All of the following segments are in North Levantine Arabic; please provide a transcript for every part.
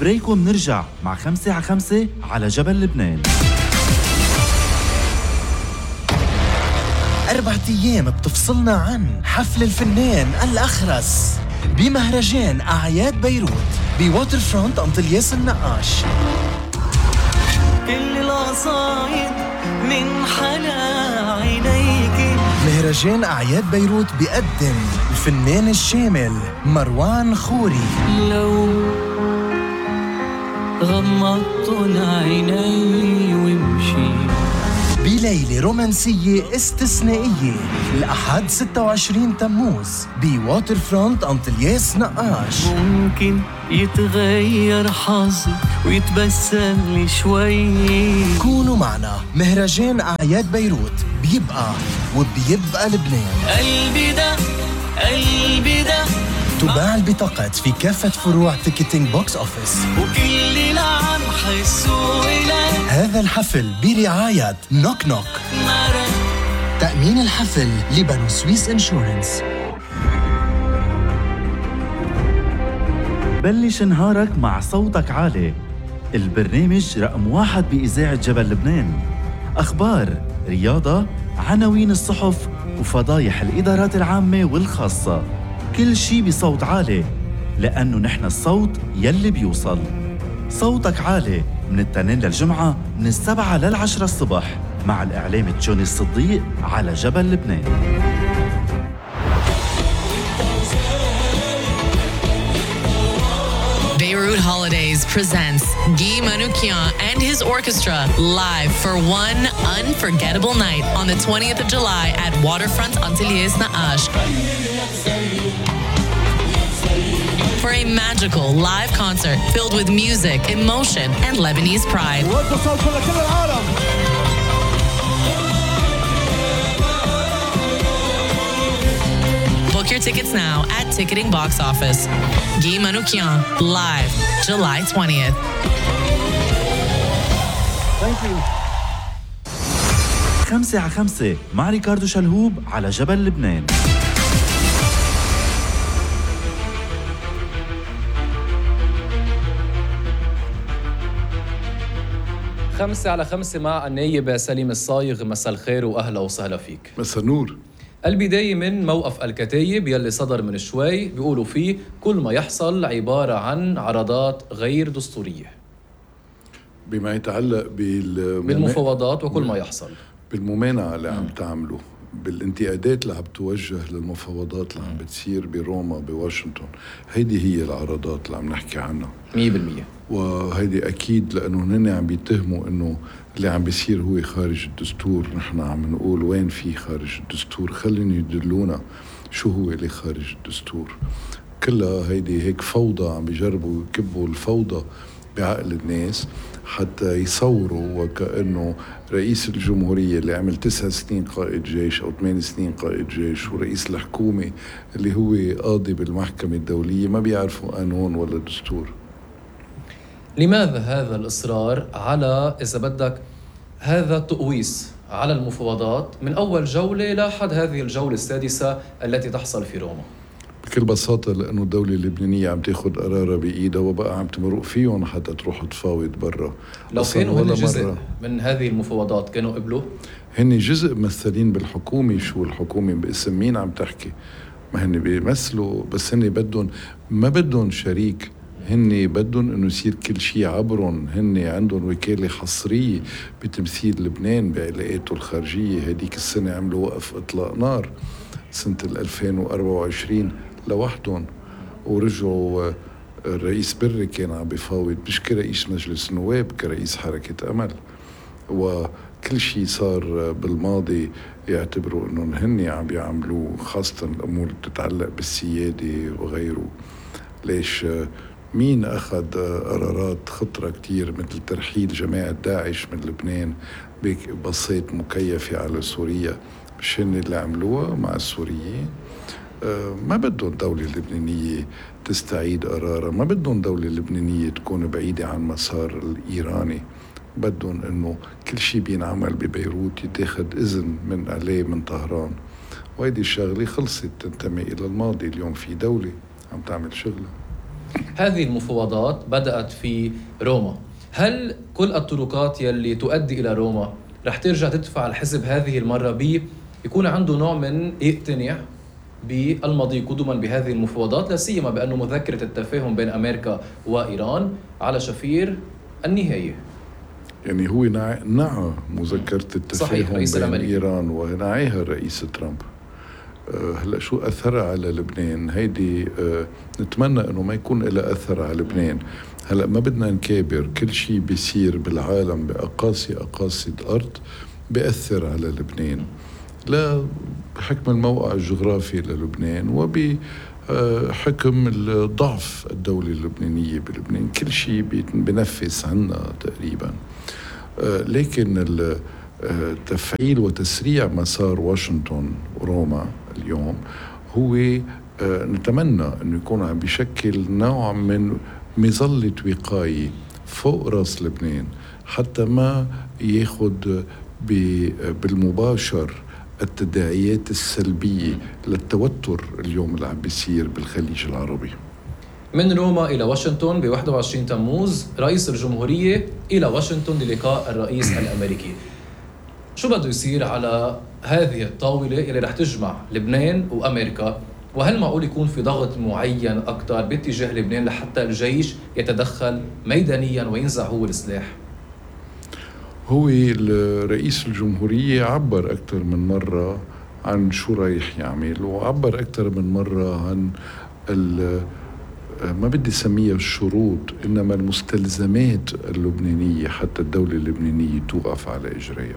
بريكو منرجع مع 5 على جبل لبنان. 4 أيام بتفصلنا عن حفل الفنان الأخرس بمهرجان أعياد بيروت بواتر فرونت أنطلياس النقاش. كل القصايد من حلا عينيك. مهرجان أعياد بيروت بيقدم الفنان الشامل مروان خوري. لو غمضت العيني وامشي بليلة رومانسية استثنائية الأحد 26 تموز بواتر فرونت أنطلياس نقاش. ممكن يتغير حظي ويتبسم لي شوي. كونوا معنا، مهرجان أعياد بيروت بيبقى وبيبقى لبنان. قلبي ده تباع البطاقات في كافة فروع تيكتينج بوكس أوفيس. وكل اللي عم حسوا إلك هذا الحفل برعاية نوك نوك. تأمين الحفل لبنو سويس انشورنس. بلش نهارك مع صوتك عالي، البرنامج رقم 1 بإذاعة جبل لبنان. أخبار، رياضة، عناوين الصحف وفضايح الإدارات العامة والخاصة، كل شي بصوت عالي، لأنه نحن الصوت يلي بيوصل. صوتك عالي من التنين للجمعة من 7 ل10 الصبح مع الإعلام جوني الصديق على جبل لبنان. Beirut Holidays presents Guy Manoukian and his orchestra live for one unforgettable night on the 20th of July at Waterfront Antilles Na'ash. For a magical live concert filled with music, emotion, and Lebanese pride. Book your tickets now at Ticketing Box Office. Guy Manoukian, live, July 20th. Thank you. 5 مع ريكاردو شلهوب على جبل لبنان. 5 مع النايب سليم الصايغ. مساء الخير وأهلا وسهلا فيك. مساء النور. البداية من موقف الكتايب يلي صدر من شوي، بيقولوا فيه كل ما يحصل عبارة عن عرضات غير دستورية بما يتعلق بالمفاوضات وكل ما يحصل بالممانعة اللي عم تعمله، بالانتقادات اللي عم توجه للمفاوضات اللي عم بتصير بروما بواشنطن. هيدي هي العرضات اللي عم نحكي عنها 100%. وهيدي أكيد لأنه هن عم بيتهموا إنه اللي عم بيصير هو خارج الدستور. نحن عم نقول وين في خارج الدستور؟ خليني يدلونا شو هو اللي خارج الدستور. كلها هيدي هيك فوضى، عم بيجربوا يكبوا الفوضى بعقل الناس حتى يصوروا وكأنه رئيس الجمهورية اللي عمل 9 سنين قائد جيش أو 8 سنين قائد جيش ورئيس الحكومة اللي هو قاضي بالمحكمة الدولية ما بيعرفوا قانون ولا دستور. لماذا هذا الإصرار على إذا بدك هذا التقويس على المفاوضات من أول جولة لحد هذه الجولة السادسة التي تحصل في روما؟ بكل بساطة لأنه الدولة اللبنانية عم تاخد قرارها بإيدها وبقى عم تمرق فيهم حتى تروح تفاوض برا. لو كانوا هن جزء من هذه المفاوضات كانوا قبلوا؟ هن جزء ممثلين بالحكومة. شو الحكومة باسم مين عم تحكي؟ ما هن بيمثلوا، بس هن بدهم ما بدهم شريك، هن بدهم انه يصير كل شيء عبرهم. هن عندهم وكالة حصرية بتمثيل لبنان بعلاقاته الخارجية. هديك السنة عملوا وقف اطلاق نار سنة 2024 لوحدهم، ورجعوا الرئيس بري كان عم بيفاوض مش كرئيس مجلس النواب، كرئيس حركة أمل. وكل شيء صار بالماضي يعتبروا انهم هن عم بيعملوه، خاصة الأمور اللي بتتعلق بالسيادة وغيره. ليش؟ مين أخذ قرارات خطرة كتير مثل ترحيل جماعة داعش من لبنان ببسيط مكيفة على سوريا؟ مش هن اللي عملوها مع السوريين؟ ما بدهم دولة لبنانية تستعيد قرارها، ما بدهم دولة لبنانية تكون بعيدة عن مسار الإيراني. بدهم إنه كل شيء بينعمل ببيروت يتاخد إذن من عليه من طهران. وهيدي الشغلة خلصت، تنتمي إلى الماضي. اليوم في دولة عم تعمل شغلها. هذه المفاوضات بدأت في روما. هل كل الطرقات يلي تؤدي إلى روما رح ترجع تدفع الحزب هذه المرة يكون عنده نوع من يقتنع بالمضي قدما بهذه المفاوضات، لا سيما بأنه مذكرة التفاهم بين أمريكا وإيران على شفير النهاية؟ يعني هو نعى مذكرة التفاهم بين إيران ونعيها الرئيس ترامب. هلأ شو أثرها على لبنان؟ هيدي نتمنى أنه ما يكون لها أثر على لبنان. هلأ ما بدنا نكابر، كل شيء بيصير بالعالم بأقاصي الأرض بيأثر على لبنان، لا بحكم الموقع الجغرافي للبنان وبحكم الضعف الدولة اللبنانية بلبنان. كل شيء بنفس عنا تقريبا. لكن تفعيل وتسريع مسار واشنطن وروما اليوم هو نتمنى أنه يكون عم بيشكل نوع من مظلة وقاية فوق راس لبنان، حتى ما ياخد بالمباشر التداعيات السلبية للتوتر اليوم اللي عم بيصير بالخليج العربي. من روما إلى واشنطن ب 21 تموز رئيس الجمهورية إلى واشنطن للقاء الرئيس الأمريكي. شو بده يصير على هذه الطاولة اللي رح تجمع لبنان وأمريكا؟ وهل معقول يكون في ضغط معين أكتر باتجاه لبنان لحتى الجيش يتدخل ميدانيا وينزع هو السلاح؟ هو رئيس الجمهورية عبر أكثر من مرة عن شو رايح يعمل، وعبر أكثر من مرة عن ما بدي سميها الشروط، إنما المستلزمات اللبنانية حتى الدولة اللبنانية توقف على إجريها.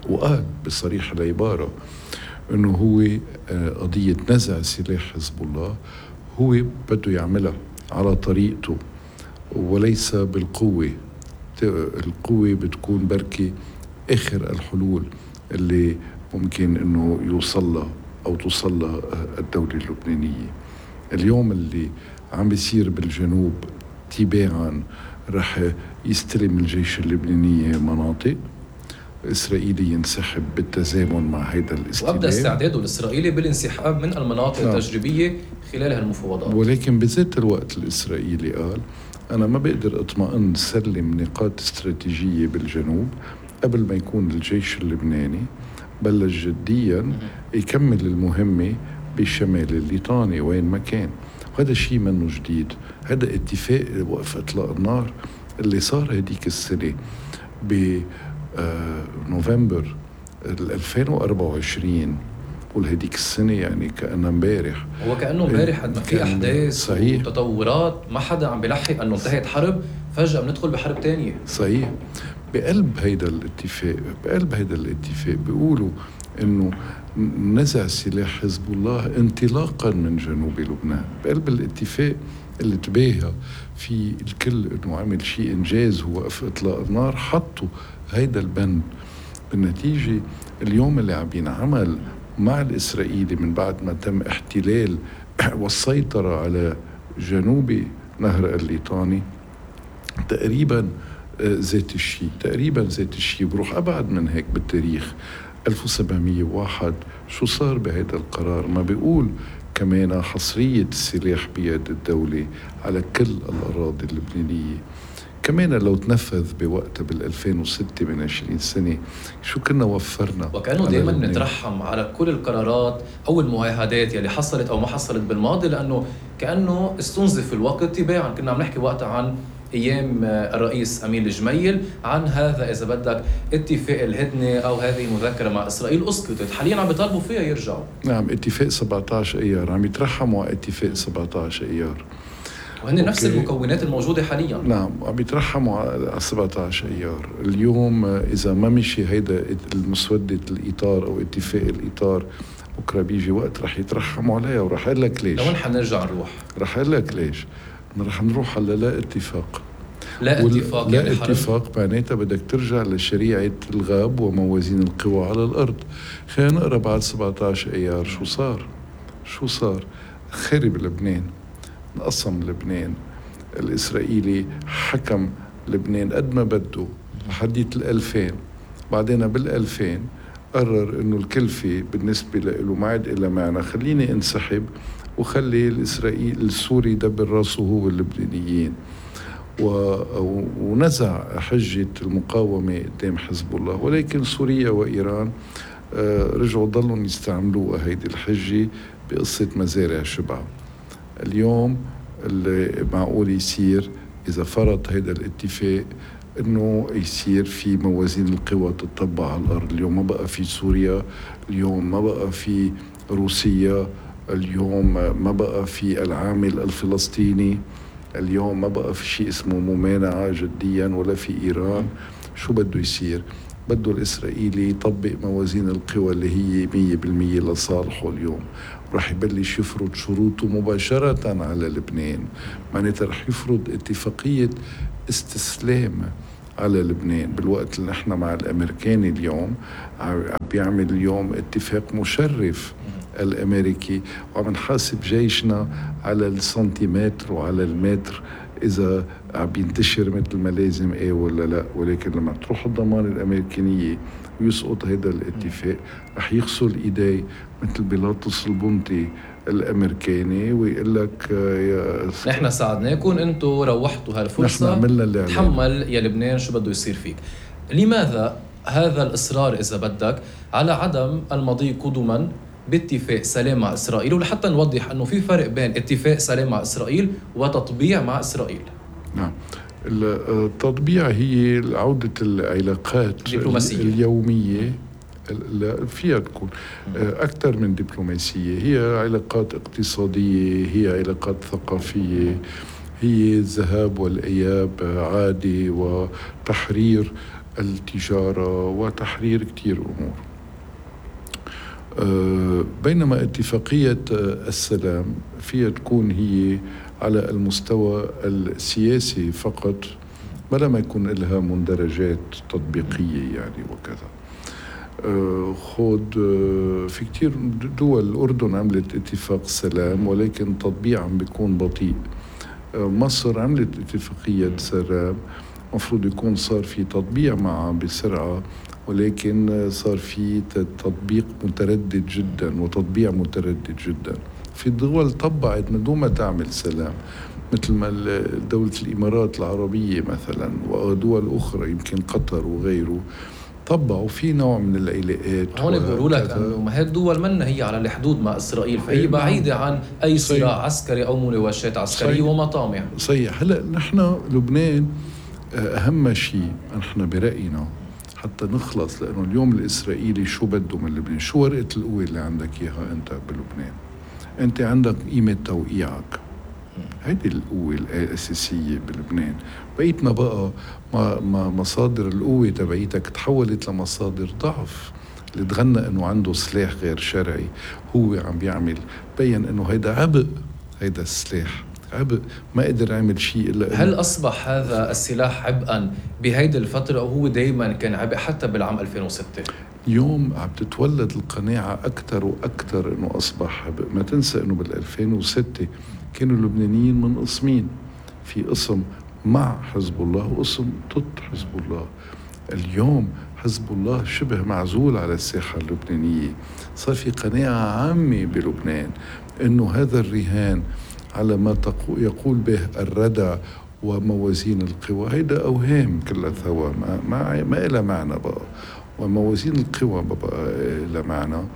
وقال بصريح العبارة إنه هو قضية نزع سلاح حزب الله هو بده يعملها على طريقته وليس بالقوة. القوة بتكون بركي آخر الحلول اللي ممكن إنه يوصلها أو توصلها الدولة اللبنانية. اليوم اللي عم بيصير بالجنوب تباعا رح يستلم الجيش اللبناني مناطق، الإسرائيلي ينسحب بالتزامن مع هيدا الاستلام، وأبدأ استعداده الإسرائيلي بالانسحاب من المناطق التجريبية خلال هالمفاوضات. ولكن بذات الوقت الإسرائيلي قال أنا ما بقدر أطمئن سلم نقاط استراتيجية بالجنوب قبل ما يكون الجيش اللبناني بلش جديا يكمل المهمة بالشمال الليطاني وين ما كان. وهذا الشيء منه جديد، هذا اتفاق وقف إطلاق النار اللي صار هديك السنة بنوفمبر 2024. والهديك السنة يعني كأنها امبارح، هو كأنه امبارح قد ما في أحداث صحيح وتطورات ما حدا عم بيلحق أنه انتهت حرب فجأة بندخل بحرب تانية. صحيح. بقلب هيدا الاتفاق بيقولوا إنه نزع سلاح حزب الله انطلاقا من جنوب لبنان. بقلب الاتفاق اللي تباهى في الكل إنه عمل شيء إنجاز هو وقف إطلاق النار، حطوا هيدا البند. بالنتيجة اليوم اللي عم ينعمل مع الإسرائيلي من بعد ما تم احتلال والسيطرة على جنوب نهر الليطاني تقريبا ذات الشيء. بروح أبعد من هيك بالتاريخ 1701 شو صار بهذا القرار؟ ما بيقول كمان حصرية السلاح بيد الدولة على كل الأراضي اللبنانية. كمان لو تنفذ بوقتها بال2006 من 20 سنة شو كنا وفرنا. وكأنه دائما نترحم على كل القرارات أو المعاهدات يلي حصلت أو ما حصلت بالماضي، لأنه كأنه استنزف الوقت تباعا. كنا عم نحكي وقتها عن أيام الرئيس أمين الجميل عن هذا إذا بدك اتفاق الهدنة أو هذه المذكرة مع إسرائيل أسقطت، حاليا عم بيطالبوا فيها يرجعوا. نعم، اتفاق 17 أيار عم يترحموا على اتفاق 17 أيار، وهن نفس المكونات الموجودة حاليا. نعم، عم يترحموا على 17 أيار. اليوم إذا ما مشي هيدا المسودة الإطار أو اتفاق الإطار بكرة بيجي وقت رح يترحموا عليها. ورح أقول لك ليش. لوين حنرجع نروح؟ رح أقول لك ليش. رح نروح على لا اتفاق. لا اتفاق معناتها بدك ترجع لشريعة الغاب وموازين القوى على الأرض. خلينا نقرأ بعد 17 أيار شو صار. خرب لبنان، انقسم لبنان، الإسرائيلي حكم لبنان قد ما بده لحديت 2000. بعدين بال2000 قرر إنه الكلفة بالنسبة له ما عاد إلا معنى، خليني انسحب وخلي السوري يدبر راسه هو اللبنانيين، ونزع حجة المقاومة قدام حزب الله. ولكن سوريا وإيران رجعوا ضلوا يستعملوها هيدي الحجة بقصة مزارع شبع. اليوم اللي معقول يصير إذا فرض هيدا الاتفاق إنه يصير في موازين القوى تطبق على الأرض. اليوم ما بقى في سوريا، اليوم ما بقى في روسيا، اليوم ما بقى في العامل الفلسطيني، اليوم ما بقى في شيء اسمه ممانعة جديا ولا في إيران. شو بده يصير؟ بده الإسرائيلي يطبق موازين القوى اللي هي 100% لصالحه اليوم، ورح يبلش يفرض شروطه مباشرة على لبنان. معناتها رح يفرض اتفاقية استسلام على لبنان، بالوقت اللي نحن مع الأمريكاني اليوم عم بيعمل اليوم اتفاق مشرف الأمريكي، وعم نحاسب جيشنا على السنتيمتر وعلى المتر إذا عم بينتشر مثل ما لازم ولا لا. ولكن لما تروح الضمان الأمريكانية ويسقط هذا الاتفاق رح يغسل إيدي مثل بيلاطس البنطي الأمريكاني ويقول لك نحن ساعدناكم، انتم روحتوا هالفرصة، تحمل يا لبنان شو بده يصير فيك. لماذا هذا الإصرار إذا بدك على عدم المضي قدما باتفاق سلام مع إسرائيل؟ ولحتى نوضح أنه في فرق بين اتفاق سلام مع إسرائيل وتطبيع مع إسرائيل. نعم، التطبيع هي عودة العلاقات اليومية، لا فيها تكون أكثر من دبلوماسية، هي علاقات اقتصادية، هي علاقات ثقافية، هي الذهاب والإياب عادي وتحرير التجارة وتحرير كتير أمور. بينما اتفاقية السلام فيها تكون هي على المستوى السياسي فقط، بلا ما يكون لها مندرجات تطبيقية يعني وكذا. خود في كتير دول، الأردن عملت اتفاق سلام ولكن تطبيع عم بيكون بطيء. مصر عملت اتفاقية سلام، مفروض يكون صار في تطبيع معها بسرعة، ولكن صار في تطبيق متردد جدا وتطبيع متردد جدا. في دول طبعت من دون ما تعمل سلام، مثل ما دولة الإمارات العربية مثلا ودول أخرى يمكن قطر وغيره طبعوا في نوع من العلاقات. هون بيقولوا لك انه ما هي الدول منا هي على الحدود مع اسرائيل، فهي بعيده عن اي صراع عسكري او مناوشات عسكريه ومطامع. صحيح. هلا نحن لبنان اهم شيء نحن براينا حتى نخلص، لانه اليوم الاسرائيلي شو بده من لبنان؟ شو ورقه القوه اللي عندك اياها انت بلبنان؟ انت عندك قيمه توقيعك، هيدي القوة الأساسية بلبنان. بقيتنا بقى مصادر القوة تبعيتك تحولت لمصادر ضعف. اللي تغنى انه عنده سلاح غير شرعي هو عم بيعمل، بين انه هيدا عبء، هيدا السلاح عبء، ما قدر يعمل شيء إلا هل أصبح هذا السلاح عبئا بهيدي الفترة أو هو دايما كان عبء حتى بالعام 2006؟ اليوم عم تتولد القناعة أكثر وأكثر إنه أصبح عبء. ما تنسى إنه بال2006 كانوا اللبنانيين من قسمين، في قسم مع حزب الله وقسم ضد حزب الله. اليوم حزب الله شبه معزول على الساحة اللبنانية. صار في قناعة عامة بلبنان إنه هذا الرهان على ما يقول به الردع وموازين القوى هيدا أوهام كلها ثوا ما إلها معنى بقى، وموازين القوى ما بقى إلها معنى.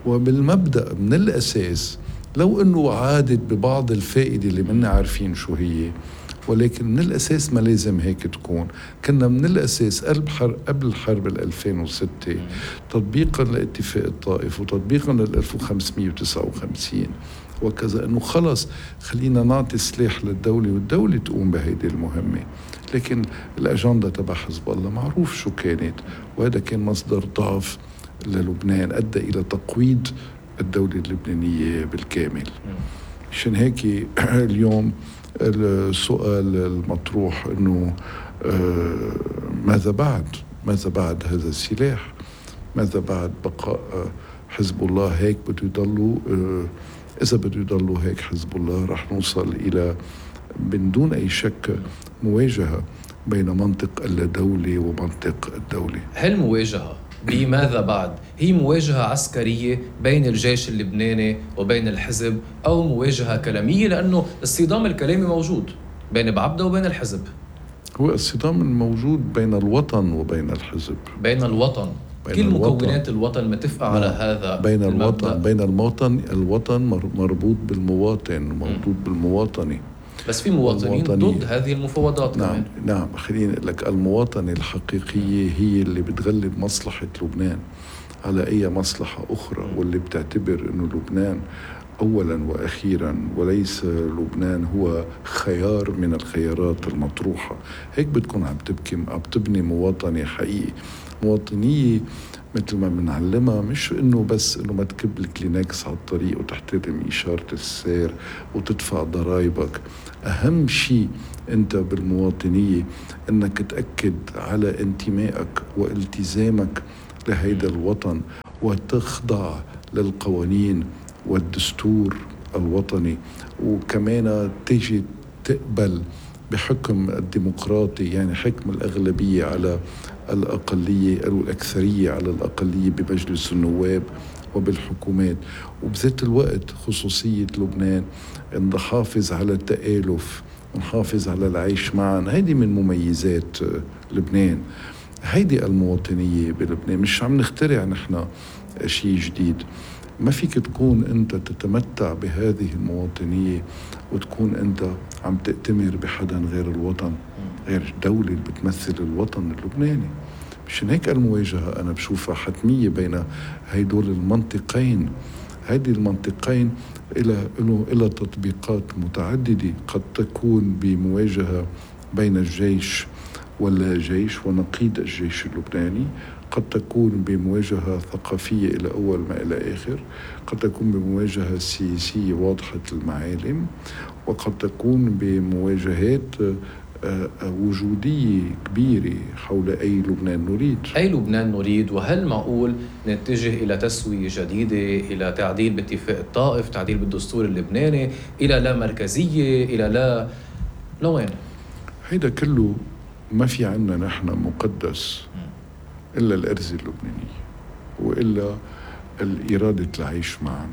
وبالمبدأ من الأساس لو أنه عادت ببعض الفائدة اللي منا عارفين شو هي، ولكن من الأساس ما لازم هيك تكون. كنا من الأساس قبل حرب 2006 تطبيقا لاتفاق الطائف وتطبيقا لل1559 وكذا، أنه خلص خلينا نعطي سلاح للدولة والدولة تقوم بهيدي المهمة. لكن الأجندة تبع حزب الله معروف شو كانت، وهذا كان مصدر ضعف للبنان أدى إلى تقويض الدولة اللبنانية بالكامل. عشان هيك اليوم السؤال المطروح أنه ماذا بعد هذا السلاح؟ ماذا بعد بقاء حزب الله هيك؟ بده يضلوا إذا بده يضلوا هيك حزب الله رح نوصل إلى من دون أي شك مواجهة بين منطق اللادولة ومنطق الدولة. هالمواجهة بماذا بعد؟ هي مواجهة عسكرية بين الجيش اللبناني وبين الحزب أو مواجهة كلامية؟ لأنه الصدام الكلامي موجود بين بعبدة وبين الحزب. هو الصدام الموجود بين الوطن وبين الحزب، بين الوطن، كل مكونات الوطن متفقة على هذا بين المبدأ. الوطن مربوط بالمواطن، مربوط بالمواطنة. بس في مواطنين ضد هذه المفاوضات. نعم كمان. نعم، خليني أقول لك، المواطنة الحقيقية هي اللي بتغلب مصلحة لبنان على أي مصلحة أخرى، واللي بتعتبر أنه لبنان أولا وأخيرا، وليس لبنان هو خيار من الخيارات المطروحة. هيك بتكون عم تبني مواطنة حقيقي، مواطنية مثل ما بنعلمها، مش انه بس انه ما تكب الكلينكس على الطريق وتحترم إشارة السير وتدفع ضرائبك. اهم شيء انت بالمواطنية انك تأكد على انتمائك والتزامك لهيدا الوطن، وتخضع للقوانين والدستور الوطني، وكمان تيجي تقبل بحكم الديمقراطي، يعني حكم الأغلبية على الأقلية أو الأكثرية على الأقلية بمجلس النواب وبالحكومات. وبذات الوقت خصوصية لبنان أن نحافظ على التآلف ونحافظ على العيش معا. هيدي من مميزات لبنان، هيدي المواطنية بلبنان. مش عم نخترع نحن شيء جديد. ما فيك تكون أنت تتمتع بهذه المواطنية وتكون أنت عم تأتمر بحدا غير الوطن، غير الدولة اللي بتمثل الوطن اللبناني. مشان هيك المواجهة أنا بشوفها حتمية بين هيدول المنطقين. هذه المنطقين إلى تطبيقات متعددة، قد تكون بمواجهة بين الجيش ولا جيش ونقيض الجيش اللبناني، قد تكون بمواجهة ثقافية إلى أول ما إلى آخر، قد تكون بمواجهة سياسية واضحة المعالم، وقد تكون بمواجهات وجودية كبيرة حول أي لبنان نريد. أي لبنان نريد؟ وهل معقول نتجه إلى تسوية جديدة، إلى تعديل باتفاق الطائف، تعديل بالدستور اللبناني، إلى لا مركزية، إلى لا لوين؟ هيدا كله ما في عنا نحن مقدس إلا الأرزة اللبنانية، وإلا الإرادة العيش معا.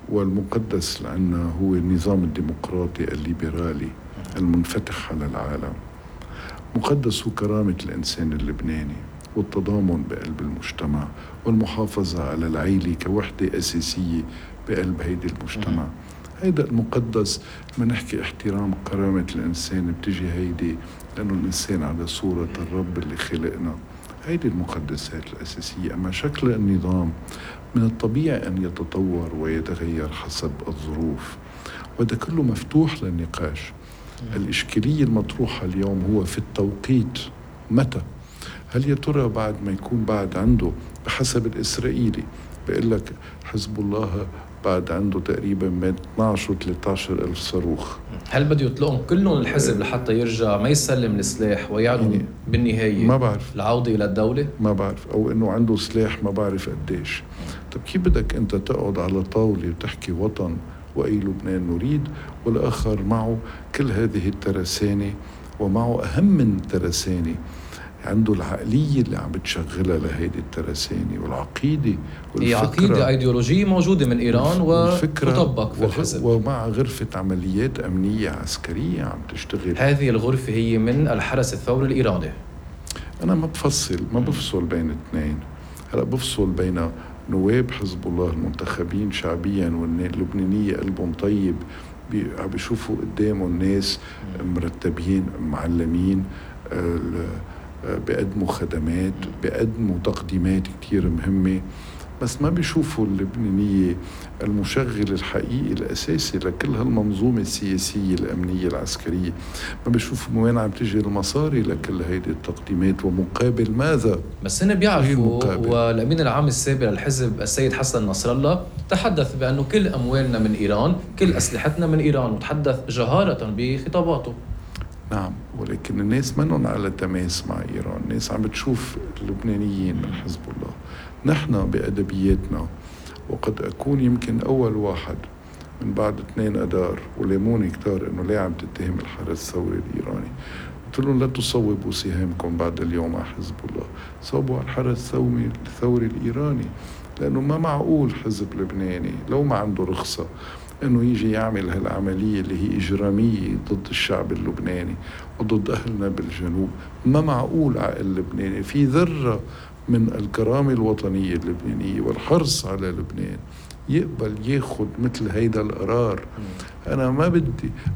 والمقدس لأنه هو النظام الديمقراطي الليبرالي المنفتح على العالم. مقدس هو كرامة الإنسان اللبناني والتضامن بقلب المجتمع والمحافظة على العيلة كوحدة أساسية بقلب هيدي المجتمع. هيدا المقدس ما نحكي احترام كرامة الإنسان، بتجي هيدي لأنه الإنسان على صورة الرب اللي خلقنا. هيدي المقدسات الأساسية. أما شكل النظام من الطبيعي أن يتطور ويتغير حسب الظروف، وهذا كله مفتوح للنقاش. الإشكالية المطروحة اليوم هو في التوقيت. متى؟ هل يا ترى بعد ما يكون بعد عنده بحسب الإسرائيلي بيقول لك حزب الله بعد عنده تقريبا بين 12 و 13 ألف صاروخ، هل بده يطلقهم كلهم الحزب لحتى يرجع ما يسلم السلاح ويعلن يعني بالنهاية ما بعرف العودة إلى الدولة؟ ما بعرف، أو إنه عنده سلاح ما بعرف قديش. طب كيف بدك أنت تقعد على طاولة وتحكي وطن وأي لبنان نريد، والآخر معه كل هذه الترسانة، ومعه أهم من الترسانة عنده العقلية اللي عم بتشغلها لهيدي الترسانة، والعقيدة هي عقيدة أيديولوجية موجودة من إيران وتطبق في الحزب، ومع غرفة عمليات أمنية عسكرية عم تشتغل. هذه الغرفة هي من الحرس الثوري الإيراني. أنا ما بفصل بين اثنين. هلأ بفصل بين نواب حزب الله المنتخبين شعبيا واللبنانية قلبهم طيب، عم بيشوفوا قدامهم الناس مرتبين معلمين، بيقدموا خدمات، بيقدموا تقديمات كتير مهمة، بس ما بيشوفوا اللبنانية المشغل الحقيقي الأساسي لكل هالمنظومة السياسية الأمنية العسكرية. ما بيشوفوا من وين عم تجي المصاري لكل هيدي التقديمات ومقابل ماذا. بس هن بيعرفوا، والأمين العام السابق للحزب السيد حسن نصر الله تحدث بأنه كل أموالنا من إيران، كل أسلحتنا من إيران، وتحدث جهارة بخطاباته. نعم، ولكن الناس منهم على تماس مع إيران. الناس عم بتشوف اللبنانيين من حزب الله. نحن بأدبياتنا، وقد أكون يمكن أول واحد من بعد 2 أدار وليموني كتار إنه ليه عم تتهم الحرس الثوري الإيراني. قلت لهم لا تصوبوا سهامكم بعد اليوم على حزب الله، صوبوا على الحرس الثوري الإيراني، لأنه ما معقول حزب لبناني لو ما عنده رخصة أنه يجي يعمل هالعملية اللي هي إجرامية ضد الشعب اللبناني وضد أهلنا بالجنوب. ما معقول عقل لبناني في ذرة من الكرامة الوطنية اللبنانية والحرص على لبنان يقبل ياخد مثل هيدا القرار.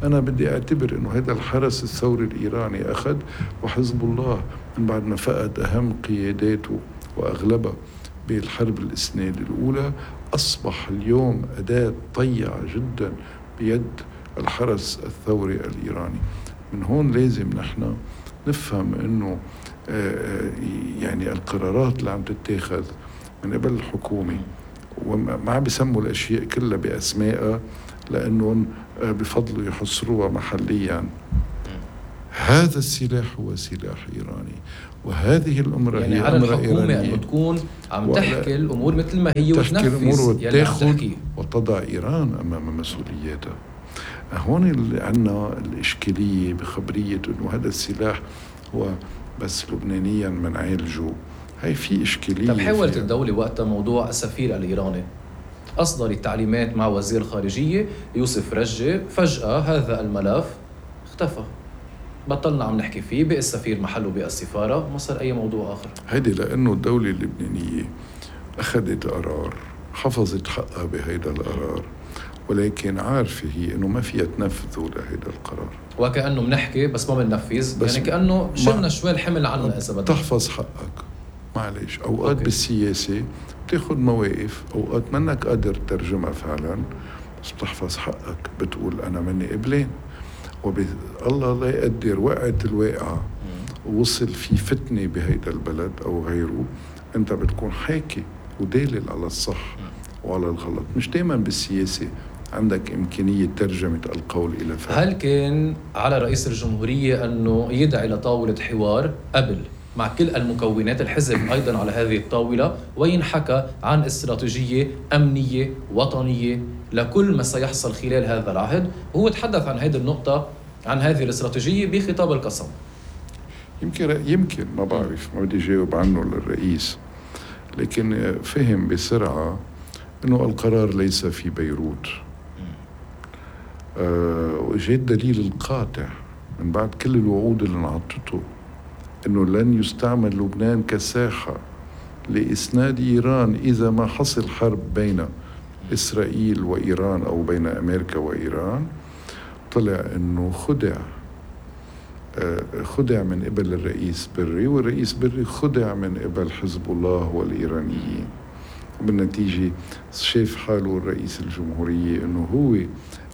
أنا بدي أعتبر أنه هيدا الحرس الثوري الإيراني أخذ، وحزب الله من بعد ما فقد أهم قياداته وأغلبها بالحرب الإسناد الأولى أصبح اليوم أداة طيعة جدا بيد الحرس الثوري الإيراني. من هون لازم نحن نفهم أنه يعني القرارات اللي عم تتاخذ من قبل الحكومة، وما عم بيسموا الأشياء كلها بأسمائها لأنهم بفضلوا يحصروها محليا. هذا السلاح هو سلاح إيراني، وهذه الأمر يعني هي على أمر الحكومة إيرانية أن تكون عم تحكي الأمور مثل ما هي تحكي الأمور وتنفذ يلي عم وتاخد تحكي وتضع إيران أمام مسؤولياتها. هون اللي عنا الإشكالية بخبرية أنه هذا السلاح هو بس لبنانيا منعالجه، هاي في إشكالية. طب حاولت الدولة وقتها موضوع السفير الإيراني أصدر التعليمات مع وزير الخارجية يوسف رجة، فجأة هذا الملف اختفى، بطلنا عم نحكي فيه، بقى السفير محله بقى السفارة، ما صار أي موضوع آخر. هيدي لأنه الدولة اللبنانية أخذت قرار، حفظت حقها بهيدا القرار، ولكن عارفة هي أنه ما فيها تنفذه لهيدا القرار، وكأنه منحكي بس ما بننفذ، يعني كأنه شلنا شوي الحمل عنا إذا بدك. تحفظ حقك معلش. أوقات بالسياسة بتاخد مواقف، أوقات منك قادر ترجمها فعلا، بس بتحفظ حقك، بتقول أنا مني قبلين، الله لا يقدر وقعت الواقعة ووصل في فتنة بهيدا البلد أو غيره، أنت بتكون حاكي ودالل على الصح وعلى الغلط. مش دايما بالسياسة عندك إمكانية ترجمة القول إلى فعل. هل كان على رئيس الجمهورية أنه يدعي لطاولة حوار قبل مع كل المكونات الحزب أيضا على هذه الطاولة، وينحكى عن استراتيجية أمنية وطنية لكل ما سيحصل خلال هذا العهد؟ وهو تحدث عن هذه النقطة، عن هذه الاستراتيجية بخطاب القسم. يمكن ما بعرف، ما بدي جاوب عنه للرئيس، لكن فهم بسرعة أنه القرار ليس في بيروت. وجاء الدليل القاطع من بعد كل الوعود اللي انعطته أنه لن يستعمل لبنان كساحة لإسناد إيران إذا ما حصل حرب بين إسرائيل وإيران أو بين أمريكا وإيران. طلع أنه خدع من قبل الرئيس بري، والرئيس بري خدع من قبل حزب الله والإيرانيين. وبالنتيجة شاف حاله الرئيس الجمهورية أنه هو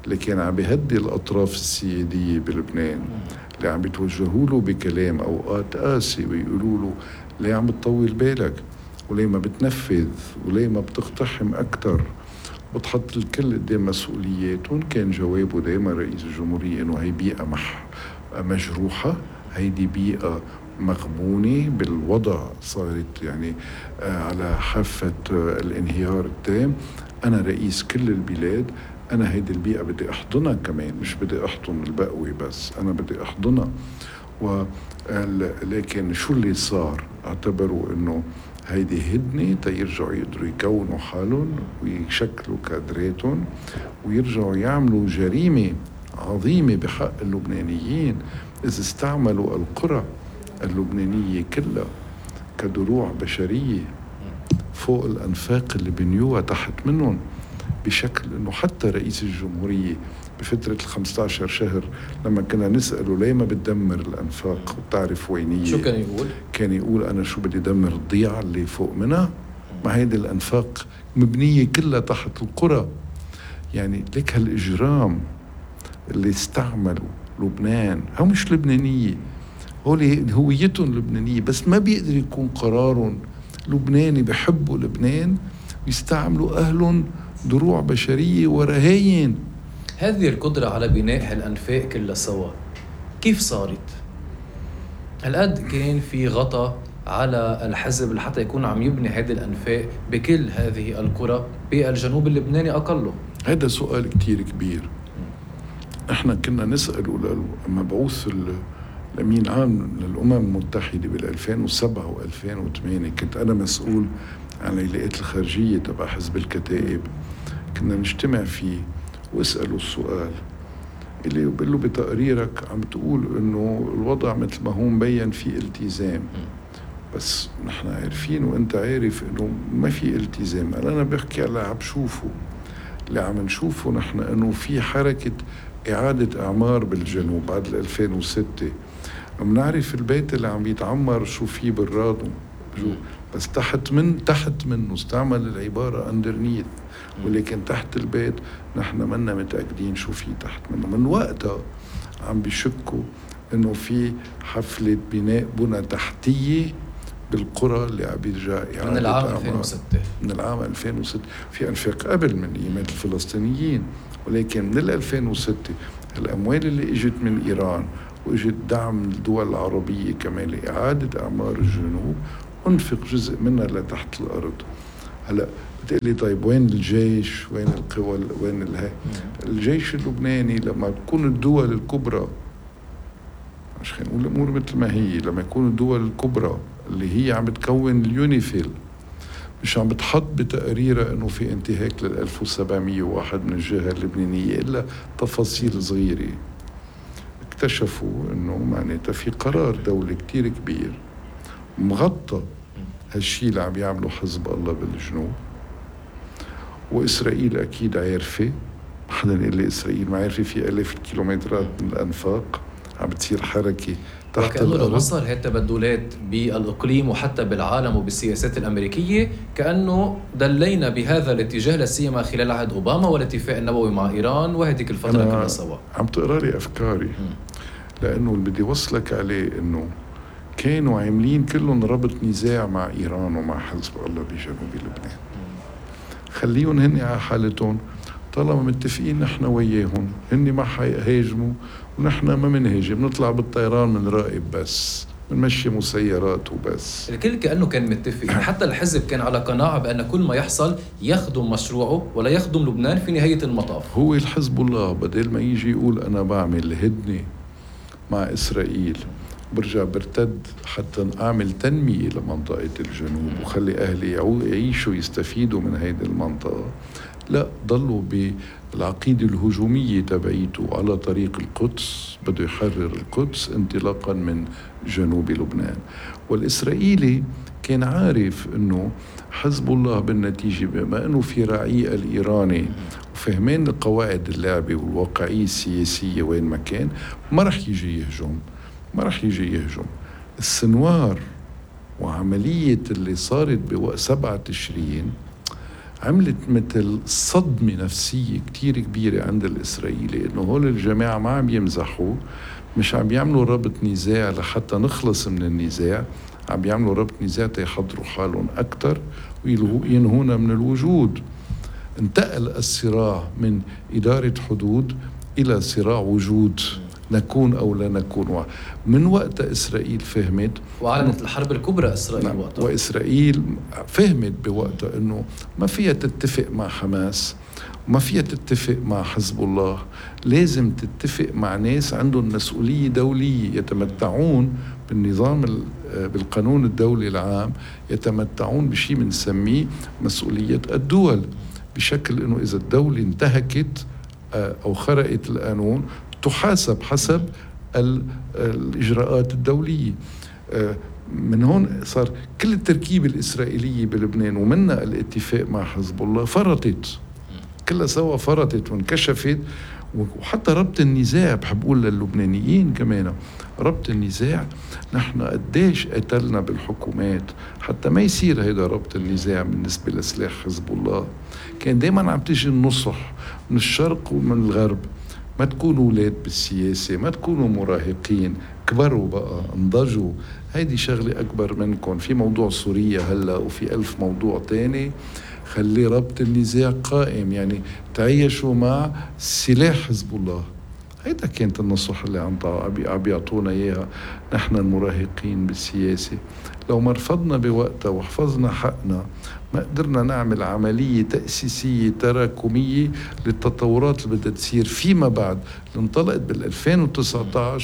اللي كان عم بيهدي الأطراف السيادية بلبنان، اللي عم بيتوجهوا له بكلام أوقات قاسي ويقولوا له ليه عم بتطول بالك، وليه ما بتنفذ، وليه ما بتقتحم أكتر، بتحط الكل قدام مسؤولياتهم. كان جوابه دائما رئيس الجمهورية أنه هي بيئة مجروحة، هيدي بيئة مغبونة بالوضع، صارت يعني على حافة الانهيار التام. أنا رئيس كل البلاد، أنا هيدي البيئة بدي أحضنها كمان، مش بدي أحضن البقوي بس، أنا بدي أحضنها. لكن شو اللي صار؟ اعتبروا أنه هيدي هدنة تيرجعوا يقدروا يكونوا حالهم ويشكلوا كادراتهم ويرجعوا يعملوا جريمة عظيمة بحق اللبنانيين إذا استعملوا القرى اللبنانية كلها كدروع بشرية فوق الأنفاق اللي بنيوها تحت منهم، بشكل أنه حتى رئيس الجمهورية بفترة 15 شهر لما كنا نسأله ليه ما بتدمر الأنفاق وتعرف وينية، شو كان يقول؟ كان يقول أنا شو بدي دمر الضيعة اللي فوق منها؟ ما هيدي الأنفاق مبنية كلها تحت القرى. يعني لك هالإجرام اللي استعملوا لبنان، هم مش لبنانية، هويتهم لبنانية، بس ما بيقدر يكون قرارهم لبناني، بحبوا لبنان ويستعملوا أهلهم دروع بشرية ورهاين. هذه القدرة على بناء هالأنفاق كلها سوا كيف صارت؟ هالقد كان في غطاء على الحزب لحتى يكون عم يبني هذه الأنفاق بكل هذه القرى بالجنوب اللبناني أقله؟ هذا سؤال كتير كبير. احنا كنا نسأله مبعوث الأمين العام للأمم المتحدة بال2007 و2008 كنت أنا مسؤول عن العلاقات الخارجية تبع حزب الكتائب. كنا نجتمع فيه واسأله السؤال اللي بقول له بتقريرك عم تقول إنه الوضع مثل ما هو مبين في التزام، بس نحن عارفين وانت عارف انه ما في التزام. انا بحكي على عم بشوفه، اللي عم نشوفه نحن انه في حركة اعادة اعمار بالجنوب بعد 2006. عم نعرف البيت اللي عم يتعمر شو فيه بالرادو، بس تحت منه استعمل العبارة underneath، ولكن تحت البيت نحن منا متأكدين شو فيه تحت منه. من وقتها عم بيشكوا انه في حفلة بناء بنى تحتية بالقرى اللي عم بيرجع من العام 2006. من العام 2006 في أنفاق قبل من إيمات الفلسطينيين، ولكن من 2006 الأموال اللي اجت من إيران واجت دعم الدول العربية كمان لإعادة أعمار الجنوب، انفق جزء منها لتحت الأرض. هلا بتقلي طيب وين الجيش؟ وين القوى؟ وين الجيش اللبناني لما تكون الدول الكبرى، مش خلينا نقول الأمور مثل ما هي، لما يكون الدول الكبرى اللي هي عم بتكون اليونيفيل مش عم بتحط بتقريرها انه في انتهاك لل 1701 من الجهة اللبنانية الا تفاصيل صغيرة، اكتشفوا انه معناتها في قرار دولي كتير كبير مغطى هالشي اللي عم يعمله حزب الله بالجنوب. وإسرائيل أكيد عارفة، حدا يقول لي إسرائيل ما عارفة في 1000 كيلومترات من الأنفاق عم بتصير حركة تحت الأرض. الأرض. لو صار هي التبدلات بالإقليم وحتى بالعالم وبالسياسات الأمريكية كأنه دلينا بهذا الاتجاه لسيما خلال عهد أوباما والاتفاق النووي مع إيران وهذيك الفترة كنا سوا. عم تقرأ لي أفكاري لأنه اللي بدي وصلك عليه إنه كانوا عاملين كلهم ربط نزاع مع إيران ومع حزب الله بجنوب لبنان. خليهم هن على حالتهم، طالما متفقين نحن وياهم هن ما حيهاجموا ونحن ما منهاجم، نطلع بالطيران من راقب بس بنمشي مسيرات وبس. الكل كأنه كان متفق، حتى الحزب كان على قناعة بأن كل ما يحصل يخدم مشروعه ولا يخدم لبنان في نهاية المطاف. هو الحزب الله بدل ما يجي يقول أنا بعمل هدنة مع إسرائيل برجع برتد حتى أعمل تنمية لمنطقة الجنوب وخلي أهلي يعيشوا يستفيدوا من هيدي المنطقة، لا ضلوا بالعقيدة الهجومية تبعيته على طريق القدس، بده يحرر القدس انطلاقا من جنوب لبنان. والإسرائيلي كان عارف أنه حزب الله بالنتيجة بما أنه في رعية الإيراني وفهمين قواعد اللعبة والواقعية السياسية وين ما كان، ما رح يجي يهجم. السنوار وعملية اللي صارت بوقت 7 تشرين عملت مثل صدمة نفسية كتير كبيرة عند الإسرائيلي، إنه هول الجماعة ما عم يمزحوا، مش عم يعملوا ربط نزاع لحتى نخلص من النزاع، عم يعملوا ربط نزاع تيحضروا حالهم أكتر وينهونا من الوجود. انتقل الصراع من إدارة حدود إلى صراع وجود، نكون أو لا نكون. من وقت إسرائيل فهمت وأعلنت الحرب الكبرى إسرائيل وقتها، وإسرائيل فهمت بوقتها أنه ما فيها تتفق مع حماس وما فيها تتفق مع حزب الله، لازم تتفق مع ناس عندهم مسؤولية دولية، يتمتعون بالنظام بالقانون الدولي العام، يتمتعون بشيء بنسميه مسؤولية الدول، بشكل أنه إذا الدولة انتهكت أو خرقت القانون تحاسب حسب الإجراءات الدولية. من هون صار كل التركيبة الإسرائيلية بلبنان ومنها الاتفاق مع حزب الله فرطت، كلها سوا فرطت وانكشفت. وحتى ربط النزاع، بحب أقول للبنانيين كمان، ربط النزاع نحن قديش قتلنا بالحكومات حتى ما يصير هيدا ربط النزاع بالنسبة لسلاح حزب الله. كان دايما عم تيجي النصح من الشرق ومن الغرب، ما تكونوا أولاد بالسياسة، ما تكونوا مراهقين، كبروا بقى، انضجوا، هيدي شغلة أكبر منكم. في موضوع سوريا هلأ وفي 1000 موضوع تاني، خلي ربط النزاع قائم، يعني تعيشوا مع سلاح حزب الله. هيدا كانت النصح اللي عم بيعطونا إياها نحن المراهقين بالسياسة. لو ما رفضنا بوقتها وحفظنا حقنا ما قدرنا نعمل عملية تأسيسية تراكمية للتطورات اللي بدها تصير فيما بعد، اللي انطلقت بال2019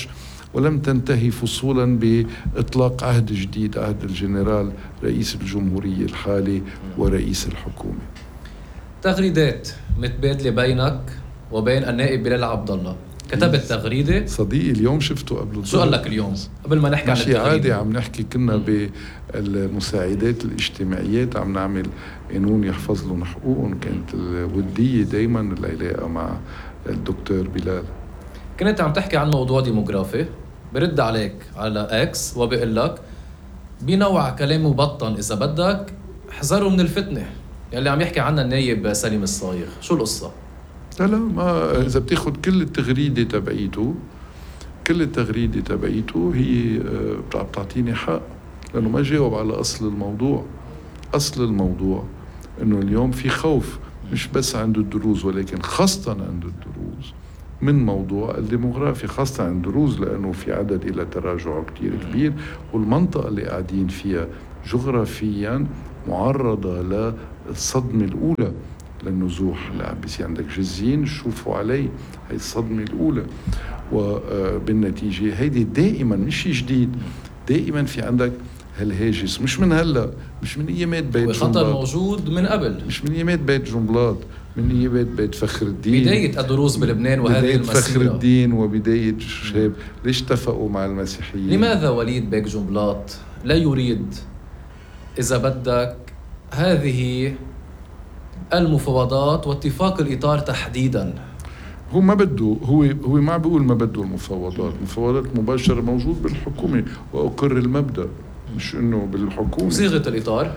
ولم تنتهي فصولا بإطلاق عهد جديد، عهد الجنرال رئيس الجمهورية الحالي ورئيس الحكومة. تغريدات متبادلة بينك وبين النائب بلال عبد الله، كتبت تغريدة صديقي اليوم شفته قبل شو قال لك اليوم قبل ما نحكي عن ماشي التغريدة؟ عادي، عم نحكي كنا بالمساعدات الاجتماعيات عم نعمل قانون يحفظ لهم حقوقهم، كانت الودية دايما العلاقة مع الدكتور بلال. كنت عم تحكي عن موضوع ديموغرافي، برد عليك على اكس وبقول لك بنوع كلام مبطن اذا بدك، احذروا من الفتنة يلي عم يحكي عنها النايب سليم الصايغ. شو القصة؟ لا ما إذا بتاخد كل التغريدة تبعيته، كل التغريدة تبعيته هي بتعطيني حق، لأنه ما جاوب على أصل الموضوع. أصل الموضوع إنه اليوم في خوف مش بس عند الدروز ولكن خاصة عند الدروز من موضوع الديموغرافي، خاصة عند الدروز لأنه في عدد إلى تراجع كتير كبير، والمنطقة اللي قاعدين فيها جغرافيا معرضة للصدمة الأولى للنزوح اللي عم بيصير. عندك جزين شوفوا علي هي الصدمة الأولى، وبالنتيجة هيدي دائما مش شيء جديد، دائما في عندك هالهاجس، مش من هلا، مش من ايامات بيت جنبلاط، خطر موجود من قبل، مش من ايامات بيت جنبلاط، من ايامات بيت فخر الدين، بداية الدروز بلبنان وهذه بداية المسيرة. فخر الدين وبداية شباب. ليش اتفقوا مع المسيحيين؟ لماذا وليد بيك جنبلاط لا يريد إذا بدك هذه المفاوضات واتفاق الإطار تحديداً؟ هو ما بده، هو ما بيقول ما بده المفاوضات، مفاوضات مباشرة موجود بالحكومة وأقر المبدأ، مش إنه بالحكومة. صيغة الإطار،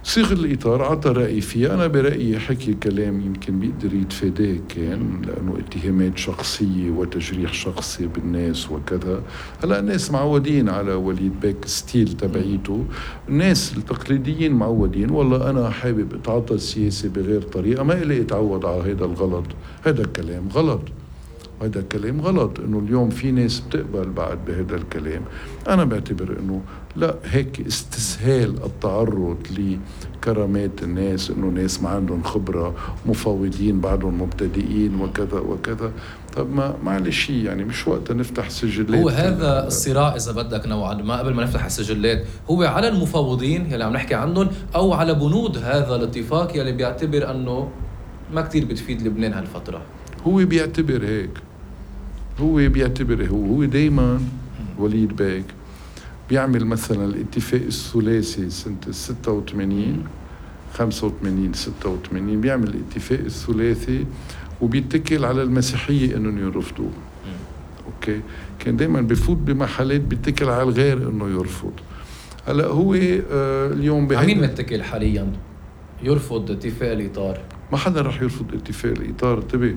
صيغ الإطار عطى رأي فيها. أنا برأيي حكي كلام يمكن بيقدر يتفاداه، كان لأنه اتهامات شخصية وتجريح شخصي بالناس وكذا. هلا الناس معودين على وليد بيك ستيل تبعيته، الناس التقليديين معودين والله أنا حابب أتعاطى السياسة بغير طريقة، ما إلي أتعود على هذا الغلط. هذا الكلام غلط، هذا الكلام غلط. إنه اليوم في ناس بتقبل بعد بهذا الكلام. أنا بعتبر إنه لا، هيك استسهال التعرض لكرامات الناس، إنه ناس ما عندهم خبرة، مفاوضين بعدهم مبتدئين وكذا وكذا. طب ما معلش يعني مش وقت نفتح سجلات. هو هذا الصراع إذا بدك نوعا ما قبل ما نفتح السجلات هو على المفاوضين يلي عم نحكي عنهم، أو على بنود هذا الاتفاق يلي بيعتبر أنه ما كتير بتفيد لبنان هالفترة؟ هو بيعتبر هيك، هو بيعتبر هو دايما وليد بيك بيعمل مثلا الاتفاق الثلاثي سنة 86 85 86 بيعمل الاتفاق الثلاثي وبيتكل على المسيحية انهم يرفضوه. اوكي، كان دايما بفوت بمحلات بيتكل على الغير انه يرفض. هلا هو اليوم عمين متكل حاليا يرفض اتفاق الإطار؟ ما حدا رح يرفض اتفاق الإطار، انتبه.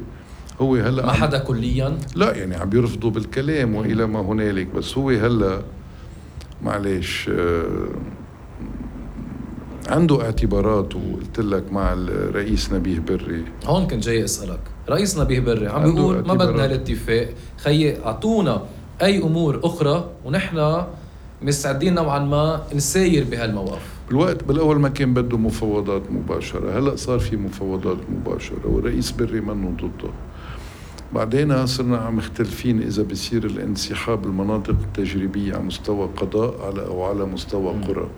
هو هلا ما حدا كليا، لا يعني عم يرفضوا بالكلام والى ما هنالك، بس هو هلا معلش عنده اعتبارات. وقلت لك مع الرئيس نبيه بري، هون كنت جاي اسالك. رئيس نبيه بري عم بيقول ما بدنا الاتفاق، خيي اعطونا اي امور اخرى ونحن مستعدين نوعا ما نساير بهالموقف. بالوقت بالاول ما كان بده مفاوضات مباشره، هلا صار في مفاوضات مباشره والرئيس بري منه ضده. بعدين صرنا عم مختلفين إذا بيصير الانسحاب المناطق التجريبية على مستوى قضاء أو على مستوى قرى.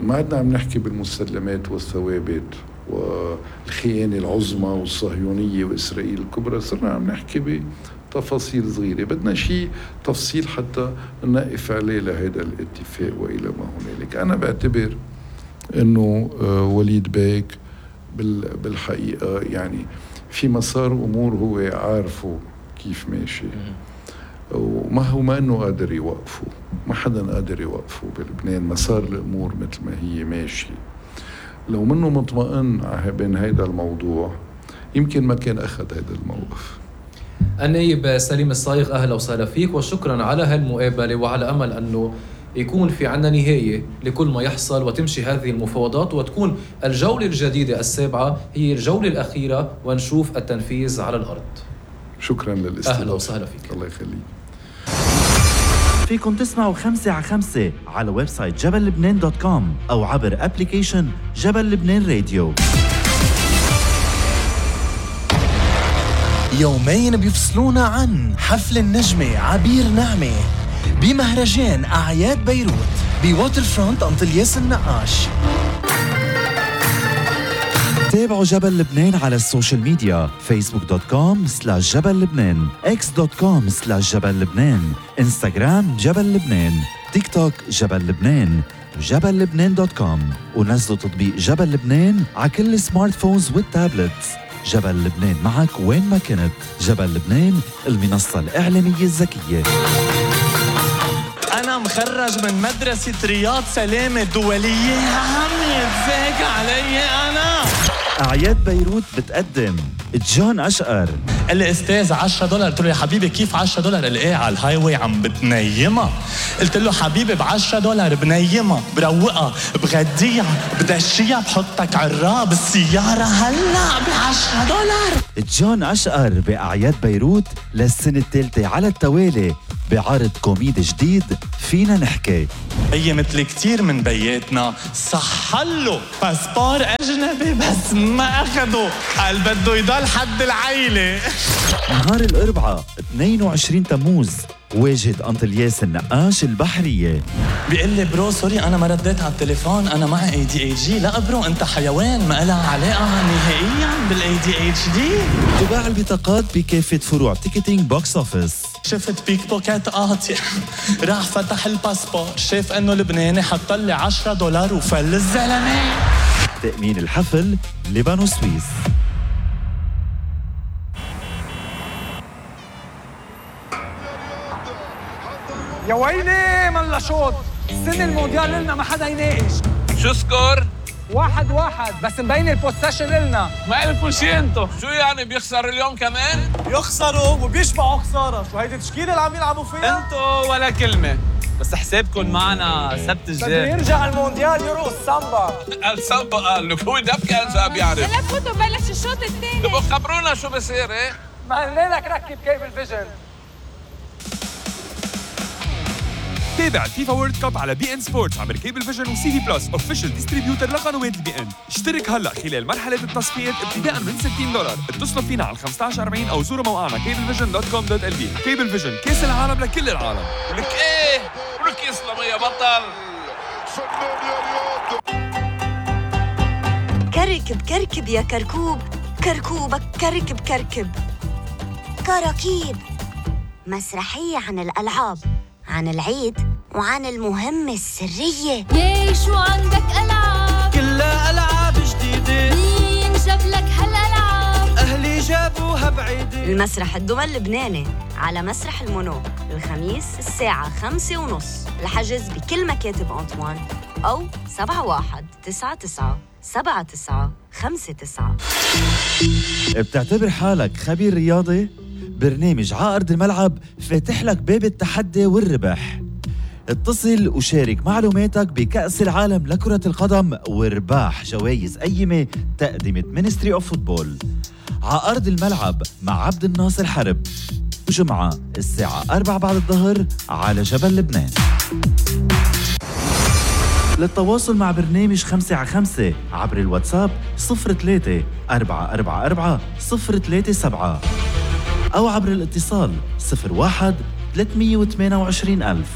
ما عدنا عم نحكي بالمسلمات والثوابت والخيانة العظمى والصهيونية وإسرائيل الكبرى، صرنا عم نحكي بتفاصيل صغيرة. بدنا شيء تفصيل حتى نقف عليه لهذا الاتفاق وإلى ما هنالك. أنا بعتبر إنه وليد بيك بالحقيقة يعني في مسار أمور هو عارفه كيف ماشي، وما هو ما أنه قادر يوقفه، ما حدا قادر يوقفه بلبنان. مسار الأمور مثل ما هي ماشي. لو منه مطمئن بين هيدا الموضوع يمكن ما كان أخذ هيدا الموقف. النائب سليم الصايغ، أهلا وسهلا فيك وشكرا على هالمقابلة، وعلى أمل أنه يكون في عنا نهاية لكل ما يحصل وتمشي هذه المفاوضات وتكون الجولة الجديدة السابعة هي الجولة الأخيرة ونشوف التنفيذ على الأرض. شكرا للاستضافة. أهلا وسهلا فيك. الله يخليك. فيكم تسمعوا 5 على 5 على ويب سايت جبللبنان.com أو عبر أبليكيشن جبل لبنان راديو. يومين بيفصلونا عن حفل النجمة عبير نعمة بمهرجان أعياد بيروت بواتر فرونت أنطلياس النقاش. تابعوا جبل لبنان على السوشيال ميديا facebook.com/جبل لبنان x.com/جبل لبنان انستغرام جبل لبنان تيك توك جبل لبنان جبل لبنان.com ونزلوا تطبيق جبل لبنان على كل السمارت فونز والتابلتس. جبل لبنان معك وين ما كنت. جبل لبنان المنصة الإعلامية الذكية. أنا مخرج من مدرسة رياض سلامة الدولية، عم يتفاجئ علي أنا. أعياد بيروت بتقدم جون أشقر. قال لي أستاذ $10. قلت له يا حبيبي كيف $10؟ قال لي إيه على الهاي واي عم بتنيمها. قلت له حبيبي $10 بنيمها بروقها بغديها بدشيها بحطك عراب بالسيارة هلا $10. جون أشقر بأعياد بيروت للسنة الثالثة على التوالي بعرض كوميدي جديد فينا نحكي. بي مثل كتير من بياتنا صحله باسبور أجنبي بس ما أخده، قال بده يضل حد العيلة. نهار الأربعاء 22 تموز واجهة أنطلياس النقاش البحرية. بيقول لي برو سوري أنا ما رديت على التليفون، أنا معي ADHD. لا برو أنت حيوان ما لها علاقة نهائيا بالADHD. تباع البطاقات بكافة فروع تيكتينج بوكس أوفيس. شفت بيك بوكيت قاطع راح فتح الباسبور شاف انه لبناني حط لي $10 وفل الزلمه. تأمين الحفل لبنان سويس. يا ويلي ملا شوط السنة المونديال لنا ما حدا يناقش. شو سكور؟ 1-1 بس مبين البوسيشن لنا. ما لكم شي انتو، شو يعني بيخسر اليوم كمان؟ يخسروا وبيشبعوا خسارة، شو هيدي التشكيلة اللي عم يلعبوا فيها؟ انتو ولا كلمة، بس حسابكم معنا سبت بده الجاي. يرجع المونديال يرقص سامبا. السامبا قال لك هو دبكة انسى بيعرف. هلا فوتوا بلش الشوط الثاني. تبقوا خبرونا شو بصير ايه؟ ما قلنا لك ركب كيبل فيجن. تابع الفيفا وورلد كاب على بي ان سبورتس عبر كيبل فيجن وسي في بلس اوفيشال ديستريبيوتر لقنوات البي ان. اشترك هلا خلال مرحله التصفيات ابتداء من $60. اتصلوا فينا على 1540 او زوروا موقعنا cablevision.com.lb. كيبل فيجن كاس العالم لكل العالم. ولك ايه؟ ولك يسلم يا بطل. كركب كركب يا كركوب، كركوبك كركب كركب. كراكيب مسرحية عن الألعاب، عن العيد وعن المهمة السرية. ليش وعندك ألعاب؟ كلها ألعاب جديدة. مين جاب لك هالألعاب؟ أهلي جابوها بعيدة. المسرح الدول اللبناني على مسرح المونو الخميس الساعة 5:30. الحجز بكل مكاتب أنطوان أو 7199-7959. بتعتبر حالك خبير رياضي؟ برنامج على أرض الملعب فاتح لك باب التحدي والربح. اتصل وشارك معلوماتك بكأس العالم لكرة القدم وارباح جوائز قيمة تقدمة مينستري اوف فوتبول. على أرض الملعب مع عبد الناصر حرب، جمعة الساعة 4 بعد الظهر على جبل لبنان. للتواصل مع برنامج 5 على 5 عبر الواتساب 03-444-037 أو عبر الاتصال 01-328-1000.